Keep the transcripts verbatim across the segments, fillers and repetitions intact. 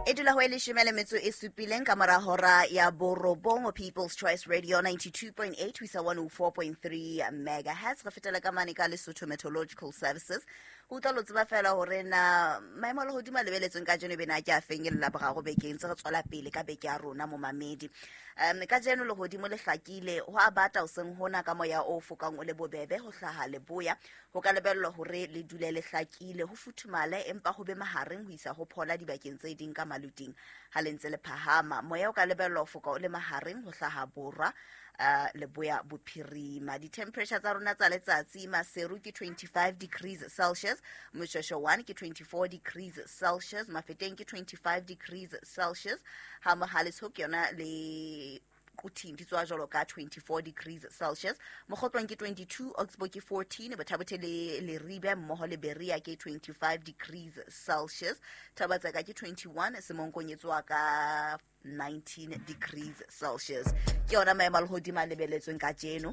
E dula ho e leshome le metso e supileng ka mora hora ya borobong, People's Choice Radio ninety-two point eight ho isa one oh four point three megahertz. Re fetela ka mane ka Lesotho Meteorological Services. Ho utlwa lo tseba fela hore na maemo a lehodimo a lebeletsweng kajeno ebe na ke a feng e le Laboraro bekeng tse re tswela pele ka beke ya rona momamedi. Um kajeno lehodimo le hlakile, ho a bata hoseng hona ka moya o fokang o le bobebe ho hlaha leboya. Ho ka lebellwa hore le dule le hlakile, ho futhumale empa ho be mahareng ho isa ho phola dibakeng tse ding ka maluting ha le ntse le phahama. Moya o ka lebellwa ho foka o le mahareng ho hlaha borwa, uh, leboya bophirima. Di-temperature tsa rona tsa letsatsi, Maseru ke twenty-five degrees Celsius, Moshweshwe one ke twenty-four degrees Celsius, Mafeteng ke twenty-five degrees Celsius, ha Mohale's Hoek yona le Quthing di tswa jwalo ka twenty-four degrees Celsius, Mokgotlong ke twenty-two, Oxbow ke fourteen, Botha-Bothe le Leribe mmoho le Berea ke twenty-five degrees Celsius, Thaba-Tseka ke twenty-one, Semonkong e tswa ka nineteen degrees Celsius. Ke yona maemo a lehodimo a lebeletsweng kajeno.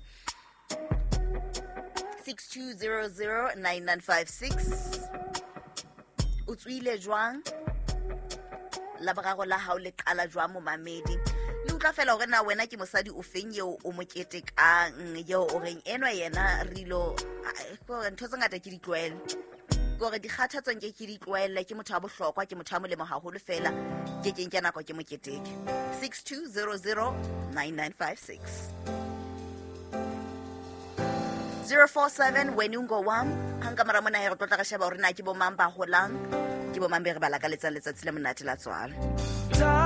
six two zero zero nine nine five six. O tswile jwang? Laboraro la hao le qala jwang momamedi? Le utlwa fela hore na wena ke mosadi o feng eo o mo ketekang, eo o reng enwa yena re ilo, a, ntho tse ngata ke di tlwaele. Ke hore dikgathatso nke ke di tlwaele, ke motho wa bohlokwa, ke motho wa molemo haholo fela, ke ke nke nako ke mo keteke. six two zero zero nine nine five six. zero four seven Wenungo one. Hang ka mora mona he re tlo tla re sheba hore na ke bo mang ba holang, ke bo mang be re ba lakaletsang letsatsi le monate la tswalo.